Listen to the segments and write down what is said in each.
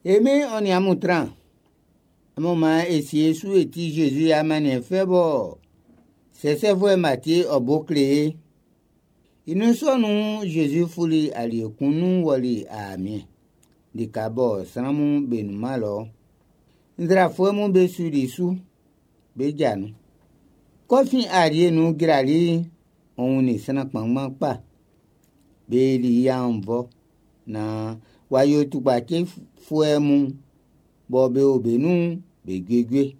E Min'n ɔ nin amun tran. Amun maan e sie e su e ti Zezi i amanniɛn fɛ bɔ sɛsɛfuɛ Matie ɔ bo kle e. I nun sɔ nun'n, Zezi fuli alie kun nun wɔli aamiɛn, lika bɔ sran'm be nunman lɔ'n. Nzrafuɛ mun be suli i su, be ja nun. K'ɔ fin alie nun jrali'n, ɔ wunnin sran kpanngban kpa. Be yili i annvɔ naan w'a yo tukpacifuɛ mun bɔ be o be nun'n be juejue.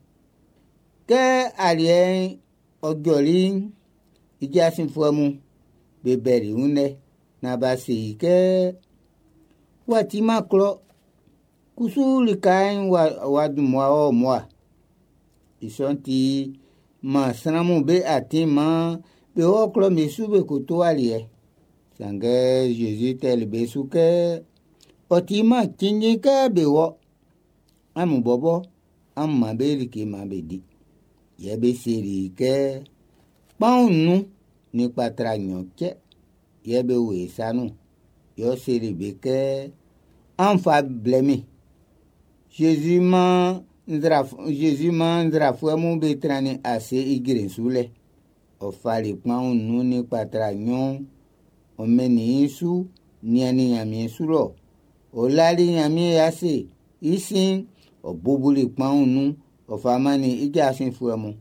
Kɛ aliɛ'n ɔ jɔli'n, i jasinfuɛ mun be bɛli i wun lɛ naan b'a se i kɛ, Wa timan klɔ, kusu lika'n w'a dun mmua wɔ mmua. I sɔ'n ti, man sran'm be atin maan be wɔ klɔ'm be su be ko to aliɛ. Sanngɛ Zezi tɛli be su kɛ, ɔ timan cinnjin kɛ be wɔ. Amun bɔbɔ, amun man be like maan be di. Yɛ be seli i kɛ, kpaun nnun nin kpatra nɲɔn cɛ yɛ be wo e sa nun. Yɛ ɔ seli be kɛ, an fa blɛ min. Zezi maan nzrafuɛ mun be trannin ase ijre'n su lɛ. Ɔ fali kpaun nnun nin kpatra nɲɔn'n, ɔ mɛnnin i su niannin Ɲanmiɛn su lɔ. Ɔ lali Ɲanmiɛn i ase. I sin'n, ɔ bubuli kpaun nun, ɔ fa mannin i jasinfuɛ mun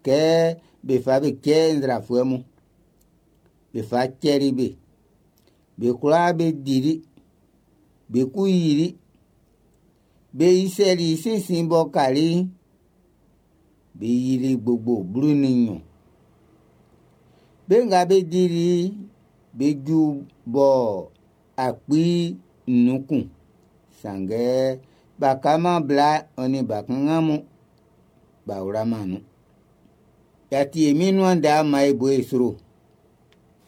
kɛ be fa be cɛ nzrafuɛ mun. Be fa cɛli be. Be kwlaa be dili, be ku yili. Be isɛli i sinsin b'ɔ kali'n, be yili gbogbo 12. Be nga be dili be ju bɔ 5000 kun. Sanngɛ b'a kaman bla ɔ nin bakanngan mun b'a wlaman nun. Y'a ti e Min'n nuan ndɛ'n, maan e bo e sro.